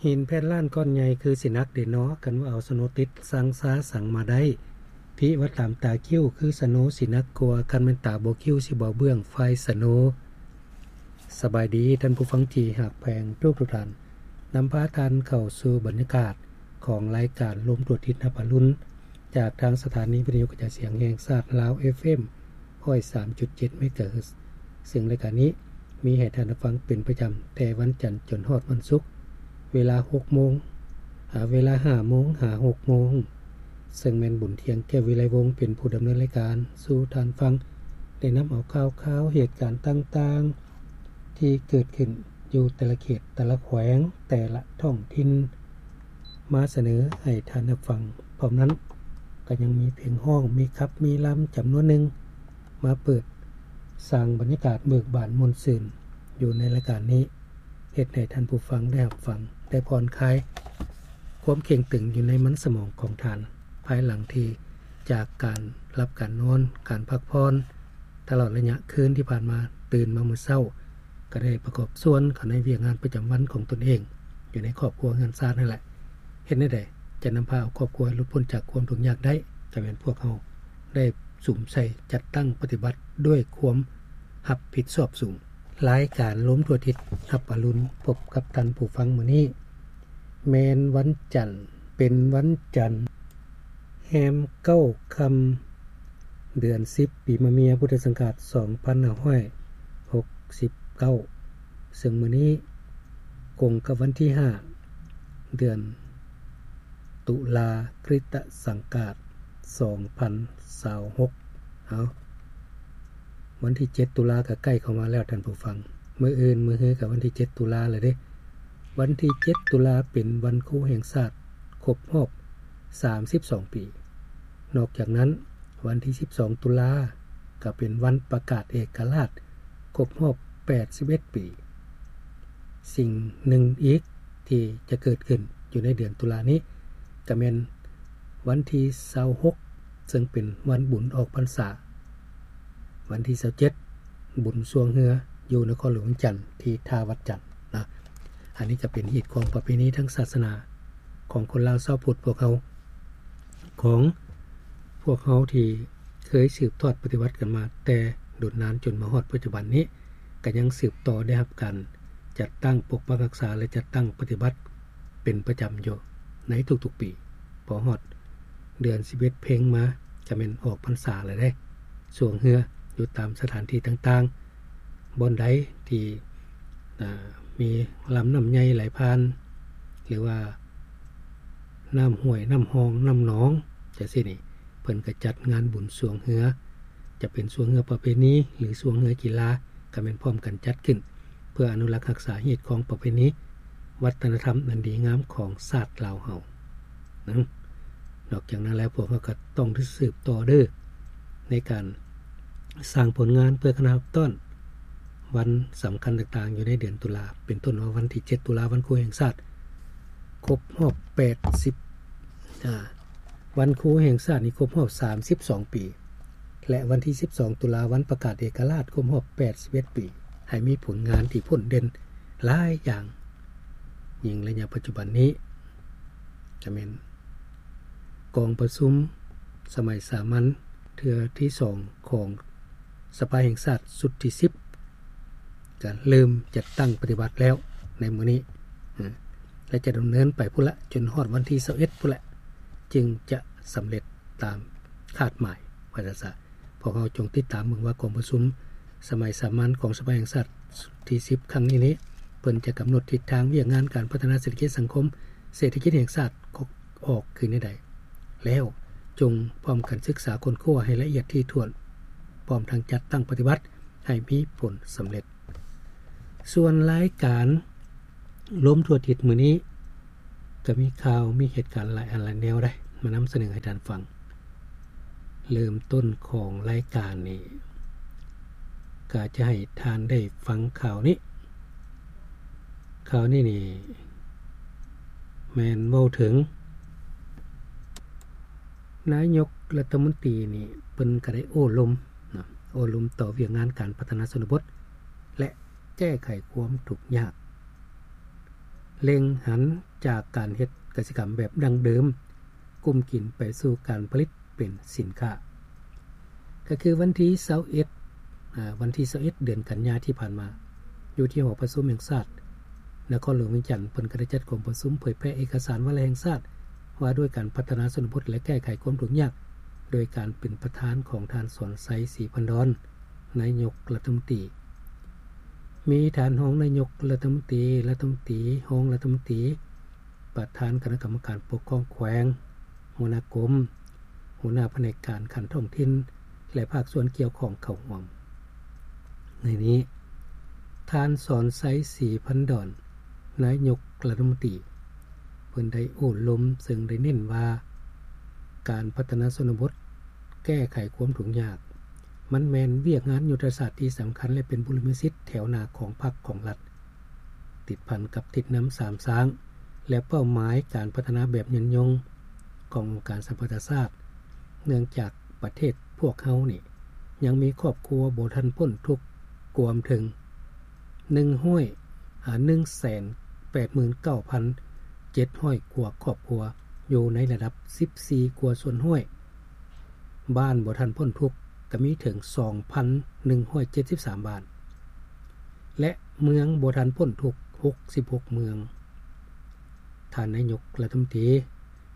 ຫີນແຜ່ນລ້ານກ້ອນໃຫຍ່ຄືຊິໜັກເດນໍ ຄັນວ່າເອົາສະໂນຕິດ ຊ່າງຊ້າສັ່ງມາໄດ້ ພິວ່າຕາມຕາຄິ້ວຄືສະໂນຊິໜັກກວ່າ ຄັນແມ່ນຕາບໍ່ຄິ້ວຊິບໍ່ເບື້ອງຝ້າຍສະໂນ. ສະບາຍດີທ່ານຜູ້ຟັງທີ່ຮັກແພງທຸກໆທ່ານ, ນຳພາທ່ານເຂົ້າສູ່ບັນຍາກາດຂອງລາຍການລົມທົ່ວທິດຮັບອະລຸນ ຈາກທາງສະຖານີວິທະຍຸກະຈາຍສຽງແຫ່ງຊາດລາວ ເອັຟເອັມ ຮ້ອຍສາມຈຸດເຈັດ ເມກາເຮີດ, ເຊິ່ງລາຍການນີ້ມີໃຫ້ທ່ານໄດ້ຟັງເປັນປະຈຳ ແຕ່ວັນຈັນຈົນຮອດວັນສຸກ ເວລາຫົກໂມງ ຫາເວລາຫ້າໂມງ ຫາຫົກໂມງ, ເຊິ່ງແມ່ນບຸນທຽງ ແກ້ວວິໄລວົງ ເປັນຜູ້ດຳເນີນລາຍການສູ່ທ່ານຟັງ, ໄດ້ນຳເອົາຂ່າວຄາວເຫດການຕ່າງໆ ທີ່ເກີດຂຶ້ນຢູ່ແຕ່ລະເຂດ ແຕ່ລະແຂວງ ແຕ່ລະທ້ອງຖິ່ນ ມາສະເໜີໃຫ້ທ່ານຮັບຟັງ. ພ້ອມນັ້ນກໍຍັງມີເພງຮ້ອງ ມີຂັບ ມີລຳຈຳນວນໜຶ່ງ ມາເປີດສ້າງບັນຍາກາດເບີກບານມ່ວນຊື່ນຢູ່ໃນລາຍການນີ້, ເຮັດໃຫ້ທ່ານຜູ້ຟັງໄດ້ຮັບຟັງ ໄດ້ຜ່ອນຄາຍຄວາມເຄັ່ງຕຶງຢູ່ໃນມັນສະໝອງຂອງທ່ານ, ພາຍຫຼັງທີ່ຈາກການຫຼັບການນອນ, ການພັກຜ່ອນ ຕະຫຼອດໄລຍະຄືນທີ່ຜ່ານມາ, ຕື່ນມາມື້ເຊົ້າ ກໍໄດ້ປະກອບສ່ວນເຂົ້າໃນວຽກງານປະຈຳວັນຂອງຕົນເອງ ຢູ່ໃນຄອບຄົວເຮືອນຊານນັ້ນແຫຼະ. ເຮັດແນວໃດຈະນຳພາເອົາຄອບຄົວໃຫ້ຫຼຸດພົ້ນຈາກຄວາມທຸກຍາກໄດ້? ກໍແມ່ນພວກເຮົາໄດ້ສຸມໃສ່ຈັດຕັ້ງປະຕິບັດດ້ວຍຄວາມຮັບຜິດຊອບສູງ. ລາຍການລົມທົ່ວທິດຮັບອະລຸນ ພົບກັບທ່ານຜູ້ຟັງມື້ນີ້ ແມ່ນວັນຈັນ, ເປັນວັນຈັນ ແຮມເກົ້າຄ່ຳ ເດືອນສິບ ປີມະເມຍ ພຸດທະສັງກາດ ສອງພັນຫ້າຮ້ອຍຫົກສິບເກົ້າ ເຊິ່ງມື້ນີ້ກົງກັບວັນທີຫ້າ ເດືອນຕຸລາ ຄຣິສຕະສັງກາດ ສອງພັນຊາວຫົກ. ເອົາ ວັນທີເຈັດ ຕຸລາກໍໃກ້ເຂົ້າມາແລ້ວທ່ານຜູ້ຟັງ, ມື້ອື່ນມື້ຮືກໍວັນທີເຈັດ ຕຸລາແລ້ວເດ້. ວັນທີເຈັດ ຕຸລາເປັນວັນຄູແຫ່ງຊາດຄົບຮອບສາມສິບສອງປີ. ນອກຈາກນັ້ນ ວັນທີສິບສອງ ຕຸລາກໍເປັນວັນປະກາດເອກະລາດຄົບຮອບແປດສິບເອັດປີ. ສິ່ງໜຶ່ງອີກທີ່ຈະເກີດຂຶ້ນຢູ່ໃນເດືອນຕຸລານີ້ ກໍແມ່ນວັນທີຊາວຫົກ ເຊິ່ງເປັນວັນບຸນອອກພັນສາ, ວັນທີຊາວເຈັດ ບຸນຊ່ວງເຮືອຢູ່ນະຄອນຫຼວງວຽງຈັນ ທີ່ທ່າວັດຈັນນະ. ອັນນີ້ກໍເປັນຮີດຄອງປະເພນີທາງສາສະໜາຂອງຄົນລາວຊາວພຸດພວກເຮົາ, ຂອງພວກເຮົາທີ່ເຄີຍສືບທອດປະຕິບັດກັນມາແຕ່ດົນນານ ຈົນມາຮອດປັດຈຸບັນນີ້ ກໍຍັງສືບຕໍ່ໄດ້ຮັບການຈັດຕັ້ງປົກປັກຮັກສາ ແລະ ຈັດຕັ້ງປະຕິບັດເປັນປະຈຳຢູ່ໃນທຸກໆປີ. ພໍຮອດເດືອນສິບເອັດເພັງມາ ຈະແມ່ນອອກພັນສາແລ້ວເດ້, ຊ່ວງເຮືອຢູ່ຕາມສະຖານທີ່ຕ່າງໆ, ບ່ອນໃດທີ່ ອາ ມີລຳນ້ຳໃຫຍ່ໄຫຼຜ່ານ ຫຼືວ່າ ນ້ຳຫ້ວຍ ນ້ຳຮ່ອງ ນ້ຳໜອງ ຈັ່ງຊີ້ນີ້ ເພິ່ນກໍຈັດງານບຸນຊ່ວງເຮືອ, ຈະເປັນຊ່ວງເຮືອປະເພນີ ຫຼື ຊ່ວງເຮືອກິລາ ກໍແມ່ນພ້ອມກັນຈັດຂຶ້ນ ເພື່ອອະນຸລັກຮັກສາຮີດຄອງປະເພນີ ວັດທະນະທຳອັນດີງາມຂອງຊາດລາວເຮົານະ. ນອກຈາກນັ້ນແລ້ວ ພວກເຮົາກໍຕ້ອງໄດ້ສືບຕໍ່ເດີ ໃນການສ້າງຜົນງານເພື່ອຄະນະຮັບຕ້ອນວັນສຳຄັນຕ່າງໆ ຢູ່ໃນເດືອນຕຸລາ ເປັນຕົ້ນວ່າວັນທີເຈັດ ຕຸລາ ວັນຄູແຫ່ງຊາດ ຄົບຮອບແປດສິບ ອາ ວັນຄູແຫ່ງຊາດນີ້ຄົບຮອບສາມສິບສອງປີ ແລະ ວັນທີສິບສອງ ຕຸລາ ວັນປະກາດເອກະລາດ ຄົບຮອບແປດສິບເອັດປີ ໃຫ້ມີຜົນງານທີ່ພົ້ນເດັ່ນຫຼາຍຢ່າງ. ຍິ່ງໄລຍະປັດຈຸບັນນີ້ ຈະແມ່ນກອງປະຊຸມສະໄໝສາມັນເທື່ອທີສອງຂອງສະພາແຫ່ງຊາດຊຸດທີສິບ ກະເລີ່ມຈັດຕັ້ງປະຕິບັດແລ້ວໃນມື້ນີ້ ແລະ ຈະດຳເນີນໄປພຸ້ນລະ ຈົນຮອດວັນທີຊາວເອັດພຸ້ນລະ ຈຶ່ງຈະສຳເລັດຕາມຄາດໝາຍ ວ່າຊັ້ນຊະ. ພວກເຮົາຈົ່ງຕິດຕາມເບິ່ງວ່າກອງປະຊຸມສະໄໝສາມັນຂອງສະພາແຫ່ງຊາດຊຸດທີສິບຄັ້ງນີ້ນີ້ ເພິ່ນຈະກຳນົດທິດທາງວຽກງານການພັດທະນາເສດຖະກິດສັງຄົມ ເສດຖະກິດແຫ່ງຊາດອອກຄືແນວໃດ ແລ້ວຈົ່ງພ້ອມກັນສຶກສາຄົ້ນຄວ້າໃຫ້ລະອຽດຖີ່ຖ້ວນ ພ້ອມທັງຈັດຕັ້ງປະຕິບັດໃຫ້ມີຜົນສຳເລັດ. ສ່ວນລາຍການລົມທົ່ວທິດມື້ນີ້ ກໍມີຂ່າວ ມີເຫດການຫຼາຍອັນຫຼາຍແນວໃດ໋ ມານຳສະເໜີໃຫ້ທ່ານຟັງ. ເລີ່ມຕົ້ນຂອງລາຍການນີ້ ກໍຈະໃຫ້ທ່ານໄດ້ຟັງຂ່າວນີ້. ຂ່າວນີ້ນີ້ແມ່ນເວົ້າເຖິງນາຍົກລັດຖະມົນຕີນີ້ ເພິ່ນກໍໄດ້ໂອ້ລົມເນາະ, ໂອ້ລົມຕໍ່ວຽກງານການພັດທະນາຊົນນະບົດ ແລະ ແກ້ໄຂຄວາມທຸກຍາກ, ເລັ່ງຫັນ ຈາກການເຮັດກະສິກຳແບບດັ້ງເດີມ ກຸ້ມກິນໄປສູ່ການຜະລິດເປັນສິນຄ້າ. ກໍຄືວັນທີຊາວເອັດ ອາ ວັນທີຊາວເອັດ ເດືອນກັນຍາທີ່ຜ່ານມາ ຢູ່ທີ່ຫໍປະຊຸມແຫ່ງຊາດ ນະຄອນຫຼວງວຽງຈັນ ເພິ່ນກໍໄດ້ຈັດກອງປະຊຸມເຜີຍແຜ່ເອກະສານວາລະແຫ່ງຊາດ ວ່າດ້ວຍການພັດທະນາຊົນນະບົດ ແລະ ແກ້ໄຂຄວາມທຸກຍາກ ໂດຍການເປັນປະທານຂອງທ່ານ ສອນໄຊ ສີພັນດອນ ນາຍົກລັດຖະມົນຕີ, ມີທ່ານຮອງນາຍົກລັດຖະມົນຕີ, ລັດຖະມົນຕີ, ຮອງລັດຖະມົນຕີ, ປະທານຄະນະກຳມະການປົກຄອງແຂວງ, ຫົວໜ້າກົມ, ຫົວໜ້າພະແນກການຂັ້ນທ້ອງຖິ່ນ ແລະ ພາກສ່ວນກ່ຽວຂ້ອງເຂົ້າຮ່ວມ. ໃນນີ້ ທ່ານ ສອນໄຊ ສີພັນດອນ ນາຍົກລັດຖະມົນຕີ ເພິ່ນໄດ້ໂອ້ລົມ ເຊິ່ງໄດ້ເນັ້ນວ່າ ການພັດທະນາຊົນນະບົດ ແກ້ໄຂຄວາມທຸກຍາກ ມັນແມ່ນວຽກງານຍຸດທະສາດທີ່ສຳຄັນ ແລະ ເປັນບຸລິມະສິດແຖວໜ້າຂອງພັກຂອງລັດ, ຕິດພັນກັບທິດນຳສາມສ້າງ ແລະ ເປົ້າໝາຍການພັດທະນາແບບຍືນຍົງຂອງອົງການສະຫະປະຊາຊາດ, ເນື່ອງຈາກປະເທດພວກເຮົານີ້ ຍັງມີຄອບຄົວບໍ່ທັນພົ້ນທຸກກວມເຖິງ ໜຶ່ງຮ້ອຍ ອາ ໜຶ່ງແສນແປດໝື່ນເກົ້າພັນເຈັດຮ້ອຍກວ່າຄອບຄົວ ຢູ່ໃນລະດັບສິບສີ່ກວ່າສ່ວນຮ້ອຍ, ບ້ານບໍ່ທັນພົ້ນທຸກກໍມີເຖິງສອງພັນໜຶ່ງຮ້ອຍເຈັດສິບສາມບ້ານ ແລະ ເມືອງບໍ່ທັນພົ້ນທຸກຫົກສິບຫົກເມືອງ. ທ່ານນາຍົກລັດຖະມົນຕີ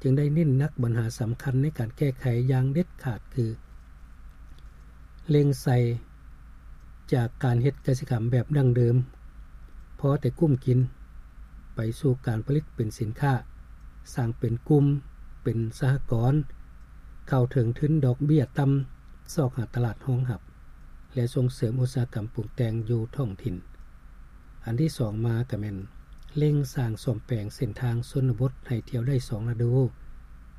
ຈຶ່ງໄດ້ເນັ້ນໜັກບັນຫາສຳຄັນໃນການແກ້ໄຂຢ່າງເດັດຂາດ ຄື ເລັ່ງໃສ່ຈາກການເຮັດກະສິກຳແບບດັ້ງເດີມ ພໍແຕ່ກຸ້ມກິນ ໄປສູ່ການຜະລິດເປັນສິນຄ້າ, ສ້າງເປັນກຸ່ມ, ເປັນສະຫະກອນ, ເຂົ້າເຖິງທຶນດອກເບ້ຍຕ່ຳ, ຊອກຫາຕະຫຼາດຮອງຮັບ ແລະ ສົ່ງເສີມອຸດສາຫະກຳປຸງແຕ່ງຢູ່ທ້ອງຖິ່ນ. ອັນທີສອງມາກໍແມ່ນ ເລັ່ງສ້າງສ້ອມແປງເສັ້ນທາງຊົນນະບົດໃຫ້ທ່ຽວໄດ້ສອງລະດູ,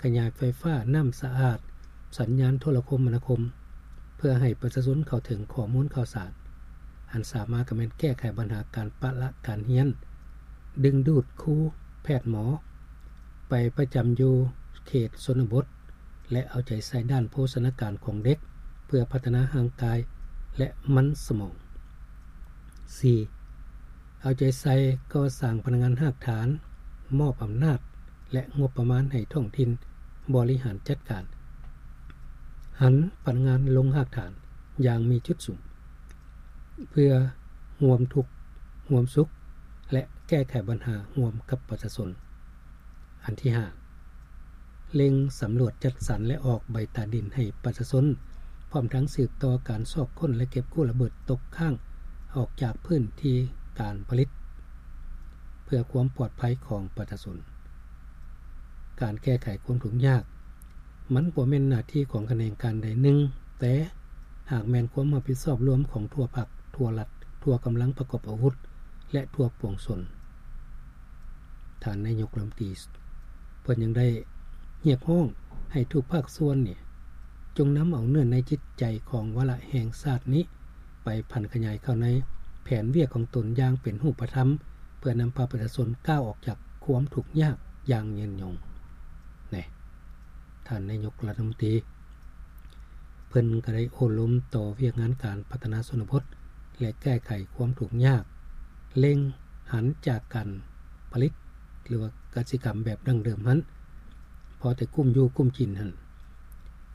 ຂະຫຍາຍໄຟຟ້າ, ນ້ຳສະອາດ, ສັນຍານໂທລະຄົມມະນາຄົມ ເພື່ອໃຫ້ປະຊາຊົນເຂົ້າເຖິງຂໍ້ມູນຂ່າວສານ ອັນສາມມາກໍແມ່ນແກ້ໄຂບັນຫາການປະລະການຮຽນ, ດຶງດູດຄູ, ແພດ, ໝໍ ໄປປະຈຳຢູ່ເຂດຊົນນະບົດ ແລະ ເອົາໃຈໃສ່ດ້ານໂພຊະນາການຂອງເດັກ ເພື່ອພັດທະນາຮ່າງກາຍ ແລະ ມັນສະໝອງ. ສີ່ ເອົາໃຈໃສ່ກໍ່ສ້າງພະນັກງານຮາກຖານ, ມອບອຳນາດ ແລະ ງົບປະມານໃຫ້ທ້ອງຖິ່ນບໍລິຫານຈັດການ, ຫັນພະນັກງານລົງຮາກຖານຢ່າງມີຈຸດສຸມ ເພື່ອຮ່ວມທຸກຮ່ວມສຸກ ແລະ ແກ້ໄຂບັນຫາຮ່ວມກັບປະຊາຊົນ. ອັນທີຫ້າ ເລັ່ງສຳຫຼວດຈັດສັນ ແລະ ອອກໃບຕາດິນໃຫ້ປະຊາຊົນ, ພ້ອມທັງສືບຕໍ່ການຊອກຄົ້ນ ແລະ ເກັບກູ້ລະເບີດຕົກຄ້າງອອກຈາກພື້ນທີ່ການຜະລິດ ເພື່ອຄວາມປອດໄພຂອງປະຊາຊົນ. ການແກ້ໄຂຄວາມທຸກຍາກ ມັນບໍ່ແມ່ນໜ້າທີ່ຂອງຂະແໜງການໃດໜຶ່ງ, ແຕ່ຫາກແມ່ນຄວາມຮັບຜິດຊອບລວມຂອງທົ່ວພັກ, ທົ່ວລັດ, ທົ່ວກຳລັງປະກອບອາວຸດ ແລະ ທົ່ວປວງຊົນ. ທ່ານນາຍົກລັດຖະມົນຕີ ເພິ່ນຍັງໄດ້ຮຽກຮ້ອງໃຫ້ທຸກພາກສ່ວນນີ້ ຈົ່ງນຳເອົາເນື້ອໃນຈິດໃຈຂອງວາລະແຫ່ງຊາດນີ້ ໄປຜັນຂະຫຍາຍເຂົ້າໃນແຜນວຽກຂອງຕົນຢ່າງເປັນຮູບປະທຳ ເພື່ອນຳພາປະຊາຊົນກ້າວອອກຈາກຄວາມທຸກຍາກຢ່າງຍືນຍົງ. ແນ່ ທ່ານນາຍົກລັດຖະມົນຕີ ເພິ່ນກໍໄດ້ໂອ້ລົມຕໍ່ວຽກງານການພັດທະນາຊົນນະບົດ ແລະ ແກ້ໄຂຄວາມທຸກຍາກ, ເລັ່ງຫັນຈາກການຜະລິດ ຫຼືວ່າກະສິກຳແບບດັ້ງເດີມຫັ້ນ, ພໍແຕ່ກຸ້ມຢູ່ກຸ້ມກິນຫັ້ນ,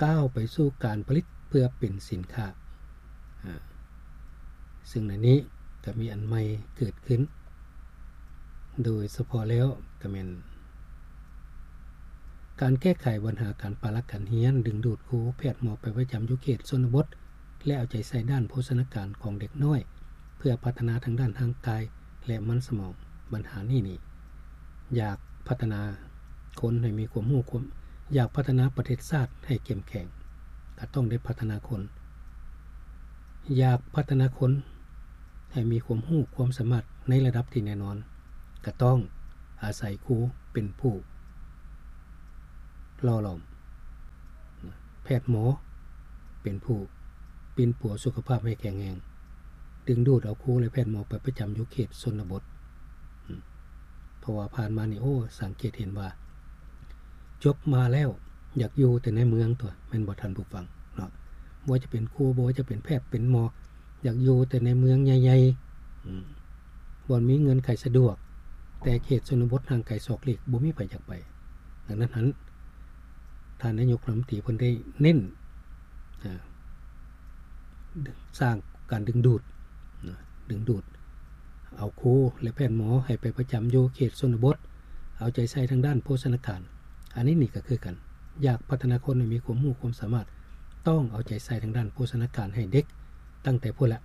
ກ້າວໄປສູ່ການຜະລິດເພື່ອເປັນສິນຄ້າ. ອາ ຊຶ່ງໃນນີ້ກໍມີອັນໃໝ່ເກີດຂຶ້ນ, ໂດຍສະເພາະແລ້ວກໍແມ່ນ ການແກ້ໄຂບັນຫາການປະລະການຮຽນ, ດຶງດູດຄູ, ແພດ, ໝໍໄປປະຈຳຢູ່ເຂດຊົນນະບົດ ແລະ ເອົາໃຈໃສ່ດ້ານໂພຊະນາການຂອງເດັກນ້ອຍ ເພື່ອພັດທະນາທາງດ້ານຮ່າງກາຍ ແລະ ມັນສະໝອງ. ບັນຫານີ້ນີ້ ຢາກພັດທະນາຄົນໃຫ້ມີຄວາມຮູ້, ຄວາມ, ຢາກພັດທະນາປະເທດຊາດໃຫ້ເຂັ້ມແຂງ ກໍຕ້ອງໄດ້ພັດທະນາຄົນ. ຢາກພັດທະນາຄົນໃຫ້ມີຄວາມຮູ້ຄວາມສາມາດໃນລະດັບທີ່ແນ່ນອນ ກໍຕ້ອງອາໄສຄູເປັນຜູ້ຫຼໍ່ຫຼອມ, ແພດໝໍເປັນຜູ້ປິ່ນປົວສຸຂະພາບໃຫ້ແຂງແຮງ, ດຶງດູດເອົາຄູ ແລະ ແພດໝໍໄປປະຈຳຢູ່ເຂດຊົນນະບົດ. ເພາະວ່າຜ່ານມານີ້ ໂອ້ ສັງເກດເຫັນວ່າ ຈົບມາແລ້ວຢາກຢູ່ແຕ່ໃນເມືອງຕົວະ ແມ່ນບໍ່ທ່ານຜູ້ຟັງເນາະ? ບໍ່ວ່າຈະເປັນຄູ ບໍ່ວ່າຈະເປັນແພດເປັນໝໍ ຢາກຢູ່ແຕ່ໃນເມືອງໃຫຍ່ໆ ອາ ບ່ອນມີເງື່ອນໄຂສະດວກ, ແຕ່ ແຕ່ເຂດຊົນນະບົດຫ່າງໄກສອກຫຼີກບໍ່ມີໃຜຢາກໄປ. ດັ່ງນັ້ນຫັ້ນ ທ່ານນາຍົກລັດຖະມົນຕີເພິ່ນໄດ້ເນັ້ນ ອາ ສ້າງການດຶງດູດນະ ດຶງດູດເອົາຄູ ແລະ ແພດໝໍໃຫ້ໄປປະຈຳຢູ່ເຂດຊົນນະບົດ, ເອົາໃຈໃສ່ທາງດ້ານໂພຊະນາການ. ອັນນີ້ນີ້ກໍຄືກັນ, ຢາກພັດທະນາຄົນໃຫ້ມີຄວາມຮູ້ຄວາມສາມາດ, ຕ້ອງເອົາໃຈໃສ່ທາງດ້ານໂພຊະນາການໃຫ້ເດັກຕັ້ງແຕ່ພຸ້ນລະ,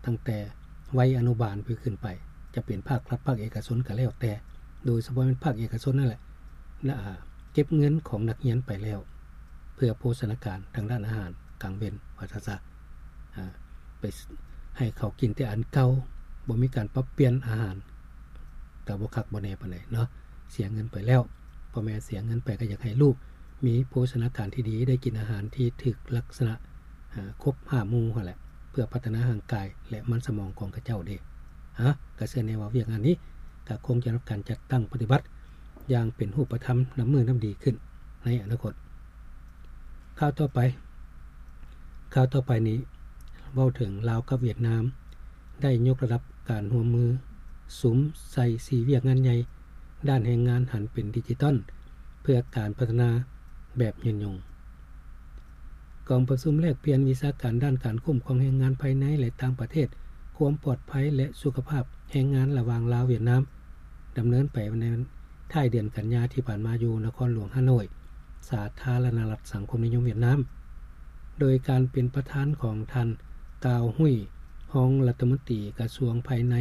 ຕັ້ງແຕ່ໄວອະນຸບານໄປຂຶ້ນໄປ, ຈະເປັນພາກລັດພາກເອກະຊົນກໍແລ້ວແຕ່, ໂດຍສະເພາະແມ່ນພາກເອກະຊົນນັ້ນແຫຼະ ນະ ເກັບເງິນຂອງນັກຮຽນໄປແລ້ວ ເພື່ອໂພຊະນາການທາງດ້ານອາຫານກາງເວັນ ວ່າຊັ້ນຊະ ອາ ໄປ ໃຫ້ເຂົາກິນແຕ່ອັນເກົ່າ, ບໍ່ມີການປັບປ່ຽນອາຫານ ກໍບໍ່ຄັກບໍ່ແນ່ປານໃດເນາະ. ເສຍເງິນໄປແລ້ວ, ພໍ່ແມ່ເສຍເງິນໄປ ກໍຢາກໃຫ້ລູກມີໂພຊະນາການທີ່ດີ, ໄດ້ກິນອາຫານທີ່ຖືກລັກສະນະ, ອາ ຄົບຫ້າໝູ່ຫັ້ນແຫຼະ, ເພື່ອພັດທະນາຮ່າງກາຍ ແລະ ມັນສະໝອງຂອງເຂົາເຈົ້າເດ້. ຮະ ກໍເຊື່ອແນ່ວ່າວຽກງານນີ້ກໍຄົງຈະໄດ້ຮັບການຈັດຕັ້ງປະຕິບັດຢ່າງເປັນຮູບປະທຳ ນັບມື້ນັບດີຂຶ້ນໃນອະນາຄົດ. ຂ່າວຕໍ່ໄປ, ຂ່າວຕໍ່ໄປນີ້ເວົ້າເຖິງລາວກັບຫວຽດນາມ ໄດ້ຍົກລະດັບການຮ່ວມມືສຸມໃສ່ສີ່ວຽກງານໃຫຍ່ດ້ານແຮງງານຫັນເປັນດິຈິຕອນ ເພື່ອການພັດທະນາແບບຍືນຍົງ. ກອງປະຊຸມແລກປ່ຽນວິຊາການດ້ານການຄຸ້ມຄອງແຮງງານພາຍໃນ ແລະ ຕ່າງປະເທດ, ຄວາມປອດໄພ ແລະ ສຸຂະພາບແຮງງານລະຫວ່າງລາວ-ຫວຽດນາມ ດຳເນີນໄປໃນທ້າຍເດືອນກັນຍາທີ່ຜ່ານມາຢູ່ນະຄອນຫຼວງຮ່າໂນ້ຍ, ສາທາລະນະລັດສັງຄົມນິຍົມຫວຽດນາມ, ໂດຍການເປັນປະທານຂອງທ່ານ ກາວ ຮຸ້ຍ ຮອງລັດຖະມົນຕີກະຊວງພາຍໃນ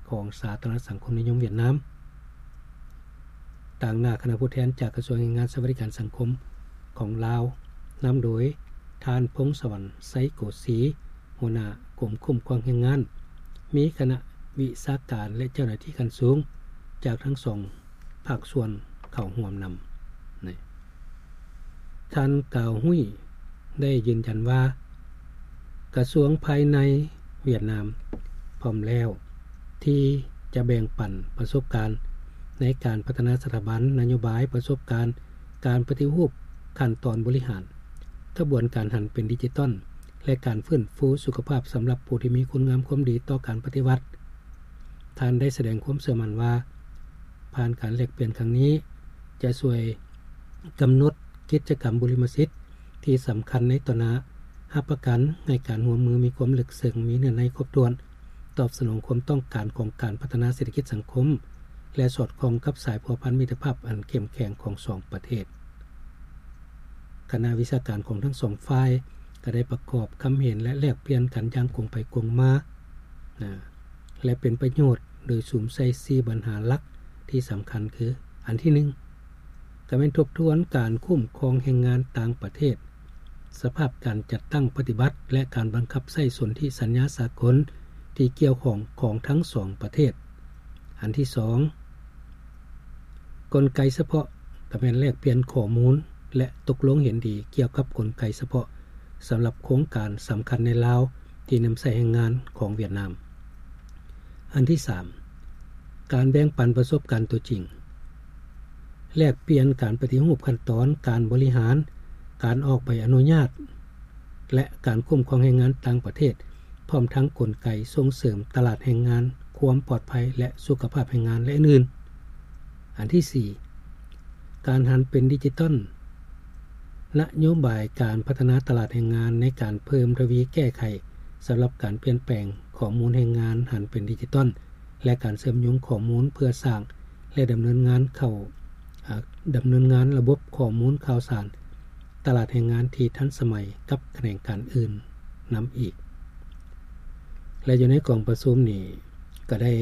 ຂອງສາທາລະນະລັດສັງຄົມນິຍົມຫວຽດນາມ, ຕາງໜ້າຄະນະຜູ້ແທນຈາກກະຊວງແຮງງານ ສະຫວັດດີການສັງຄົມຂອງລາວ, ນຳໂດຍທ່ານ ພົງສະຫວັນ ໄຊໂກສີ ຫົວໜ້າກົມຄຸ້ມຄອງແຮງງານ, ມີຄະນະວິຊາການ ແລະ ເຈົ້າໜ້າທີ່ຂັ້ນສູງຈາກທັງສອງພາກສ່ວນເຂົ້າຮ່ວມນຳ. ທ່ານ ກາວ ຮຸ້ຍ ໄດ້ຢືນຢັນວ່າ ກະຊວງພາຍໃນຫວຽດນາມພ້ອມແລ້ວທີ່ຈະແບ່ງປັນປະສົບການໃນການພັດທະນາສະຖາບັນ, ນະໂຍບາຍ, ປະສົບການການປະຕິຮູບຂັ້ນຕອນບໍລິຫານ, ຂະບວນການຫັນເປັນດິຈິຕອນ ແລະ ການຟື້ນຟູສຸຂະພາບສຳລັບຜູ້ທີ່ມີຄຸນງາມຄວາມດີຕໍ່ການປະຕິວັດ. ທ່ານໄດ້ສະແດງຄວາມເຊື່ອໝັ້ນວ່າ ຜ່ານການແລກປ່ຽນຄັ້ງນີ້ ຈະຊ່ວຍກຳນົດກິດຈະກຳບຸລິມະສິດທີ່ສຳຄັນໃນຕໍ່ໜ້າ, ຮັບປະກັນໃຫ້ການຮ່ວມມືມີຄວາມເລິກເຊິ່ງ, ມີເນື້ອໃນຄົບຖ້ວນ, ຕອບສະໜອງຄວາມຕ້ອງການຂອງການພັດທະນາເສດຖະກິດສັງຄົມ ແລະ ສອດຄ່ອງກັບສາຍພົວພັນມິດຕະພາບອັນເຂັ້ມແຂງຂອງສອງປະເທດ. ຄະນະວິຊາການຂອງທັງສອງຝ່າຍກໍໄດ້ປະກອບຄຳເຫັນ ແລະ ແລກປ່ຽນກັນຢ່າງກົງໄປກົງມາ ນະ ແລະ ເປັນປະໂຫຍດ ໂດຍສຸມໃສ່ສີ່ບັນຫາຫຼັກທີ່ສຳຄັນຄື ອັນທີໜຶ່ງ ກໍແມ່ນທົບທວນການຄຸ້ມຄອງແຮງງານຕ່າງປະເທດ, ສະພາບການຈັດຕັ້ງປະຕິບັດ ແລະ ການບັງຄັບໃຊ້ສົນທິສັນຍາສາກົນທີ່ກ່ຽວຂ້ອງຂອງທັງສອງປະເທດ. ອັນທີສອງ ກົນໄກສະເພາະ ກໍແມ່ນແລກປ່ຽນຂໍ້ມູນ ແລະ ຕົກລົງເຫັນດີກ່ຽວກັບກົນໄກສະເພາະສຳລັບໂຄງການສຳຄັນໃນລາວທີ່ນຳໃຊ້ແຮງງານຂອງຫວຽດນາມ. ອັນທີສາມ ການແບ່ງປັນປະສົບການຕົວຈິງ, ແລກປ່ຽນການປະຕິຮູບຂັ້ນຕອນການບໍລິຫານ, ການອອກໃບອະນຸຍາດ ແລະ ການຄຸ້ມຄອງແຮງງານຕ່າງປະເທດ, ພ້ອມທັງກົນໄກສົ່ງເສີມຕະຫຼາດແຮງງານ, ຄວາມປອດໄພ ແລະ ສຸຂະພາບແຮງງານ ແລະ ອື່ນໆ. ອັນທີສີ່ ການຫັນເປັນດິຈິຕອນ, ນະໂຍບາຍການພັດທະນາຕະຫຼາດແຮງງານໃນການເພີ່ມທະວີແກ້ໄຂສຳລັບການປ່ຽນແປງຂໍ້ມູນແຮງງານຫັນເປັນດິຈິຕອນ ແລະ ການເຊື່ອມໂຍງຂໍ້ມູນເພື່ອສ້າງ ແລະ ດຳເນີນງານເຂົ້າ, ອາ, ດຳເນີນງານລະບົບຂໍ້ມູນຂ່າວສານຕະຫຼາດແຮງງານທີ່ທັນສະໄໝກັບຂະແໜງການອື່ນນຳອີກ. ແລະ ຢູ່ໃນກອງປະຊຸມນີ້ ກໍໄດ້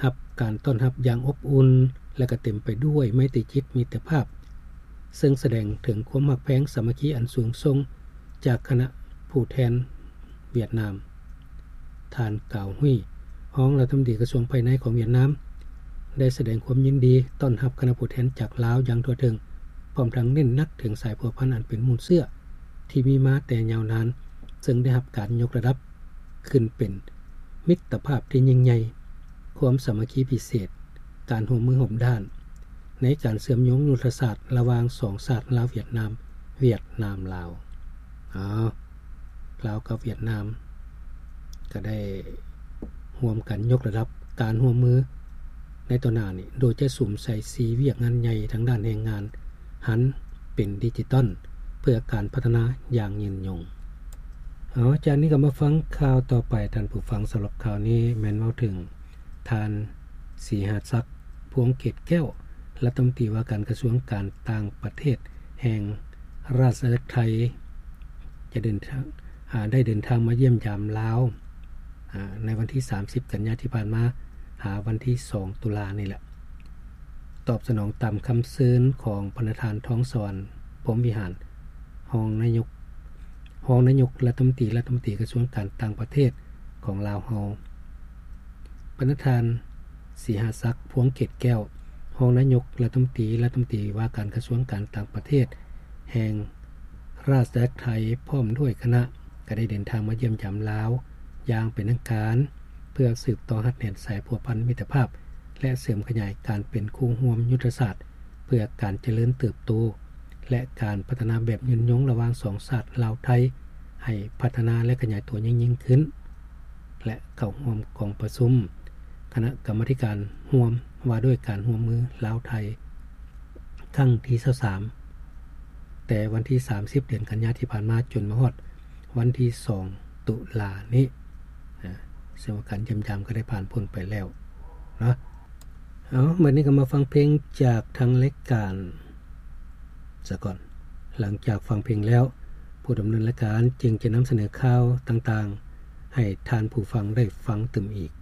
ຮັບການຕ້ອນຮັບຢ່າງອົບອຸ່ນ ແລະ ກໍເຕັມໄປດ້ວຍໄມຕີຈິດມິດຕະພາບ, ເຊິ່ງສະແດງເຖິງຄວາມຮັກແພງສາມັກຄີອັນສູງສົ່ງຈາກຄະນະຜູ້ແທນຫວຽດນາມ. ທ່ານ ກາວ ຮຸ້ຍ ຮອງລັດຖະມົນຕີກະຊວງພາຍໃນຂອງຫວຽດນາມ ໄດ້ສະແດງຄວາມຍິນດີຕ້ອນຮັບຄະນະຜູ້ແທນຈາກລາວຢ່າງທົ່ວເຖິງ, ພ້ອມທັງເນັ້ນໜັກເຖິງສາຍພົວພັນອັນເປັນມູນເຊື້ອທີ່ມີມາແຕ່ຍາວນານ, ເຊິ່ງໄດ້ຮັບການຍົກລະດັບຂຶ້ນເປັນມິດຕະພາບທີ່ຍິ່ງໃຫຍ່, ຄວາມສາມັກຄີພິເສດ, ການຮ່ວມມືຮອບດ້ານ ໃນການເຊື່ອມໂຍງຍຸດທະສາດລະຫວ່າງສອງຊາດລາວ-ຫວຽດນາມ, ຫວຽດນາມ-ລາວ. ອ້າວ ລາວກັບຫວຽດນາມກໍໄດ້ຮ່ວມກັນຍົກລະດັບການຮ່ວມມື ໃນຕໍ່ໜ້ານີ້ ໂດຍຈະສຸມໃສ່ສີ່ວຽກງານໃຫຍ່ທາງດ້ານແຮງງານ ຫັນເປັນດິຈິຕອນ ເພື່ອການພັດທະນາຢ່າງຍືນຍົງ. ເອົາ ຈາກນີ້ກໍມາຟັງຂ່າວຕໍ່ໄປ ທ່ານຜູ້ຟັງ. ສຳລັບຂ່າວນີ້ແມ່ນເວົ້າເຖິງທ່ານ ສີຫາສັກ ພວງເກດແກ້ວ ລັດຖະມົນຕີວ່າການກະຊວງການຕ່າງປະເທດແຫ່ງລາຊະອານາຈັກໄທ ຈະເດີນທາງ ອາ ໄດ້ເດີນທາງມາຢ້ຽມຢາມລາວ ອາ ໃນວັນທີສາມສິບກັນຍາທີ່ຜ່ານມາ ຫາວັນທີສອງຕຸລານີ້ແຫຼະ ຕອບສະໜອງຕາມຄຳເຊີນຂອງພະນະທ່ານ ທອງສະຫວັນ ພົມວິຫານ ຮອງນາຍົກ ຮອງນາຍົກລັດຖະມົນຕີ ລັດຖະມົນຕີກະຊວງການຕ່າງປະເທດຂອງລາວເຮົາ. ພະນະທ່ານ ສີຫາສັກ ພວງເກດແກ້ວ ຮອງນາຍົກລັດຖະມົນຕີ ລັດຖະມົນຕີວ່າການກະຊວງການຕ່າງປະເທດແຫ່ງລາຊະອານາຈັກໄທ ພ້ອມດ້ວຍຄະນະ ກໍໄດ້ເດີນທາງມາຢ້ຽມຢາມລາວຢ່າງເປັນທາງການ ເພື່ອສືບຕໍ່ຮັດແໜ້ນສາຍພົວພັນມິດຕະພາບ ແລະ ເສີມຂະຫຍາຍການເປັນຄູ່ຮ່ວມຍຸດທະສາດ ເພື່ອການຈະເລີນເຕີບໂຕ ແລະ ການພັດທະນາແບບຍືນຍົງລະຫວ່າງສອງຊາດລາວ-ໄທ ໃຫ້ພັດທະນາ ແລະ ຂະຫຍາຍຕົວຍິ່ງໆຂຶ້ນ ແລະ ເຂົ້າຮ່ວມກອງປະຊຸມຄະນະກຳມາທິການຮ່ວມວ່າດ້ວຍການຮ່ວມມືລາວ-ໄທ ຄັ້ງທີຊາວສາມ ແຕ່ວັນທີສາມສິບ ເດືອນກັນຍາທີ່ຜ່ານມາ ຈົນມາຮອດວັນທີສອງຕຸລານີ້ ອາ ເຊິ່ງວ່າການຢ້ຽມຢາມກໍໄດ້ຜ່ານພົ້ນໄປແລ້ວເນາະ. ເອົາ ບັດນີ້ກໍມາຟັງເພງຈາກທາງລາຍການສາກ່ອນ. ຫຼັງຈາກຟັງເພງແລ້ວ ຜູ້ດຳເນີນລາຍການຈຶ່ງຈະນຳສະເໜີຂ່າວຕ່າງໆ ໃຫ້ທ່ານຜູ້ຟັງໄດ້ຟັງຕື່ມອີກ.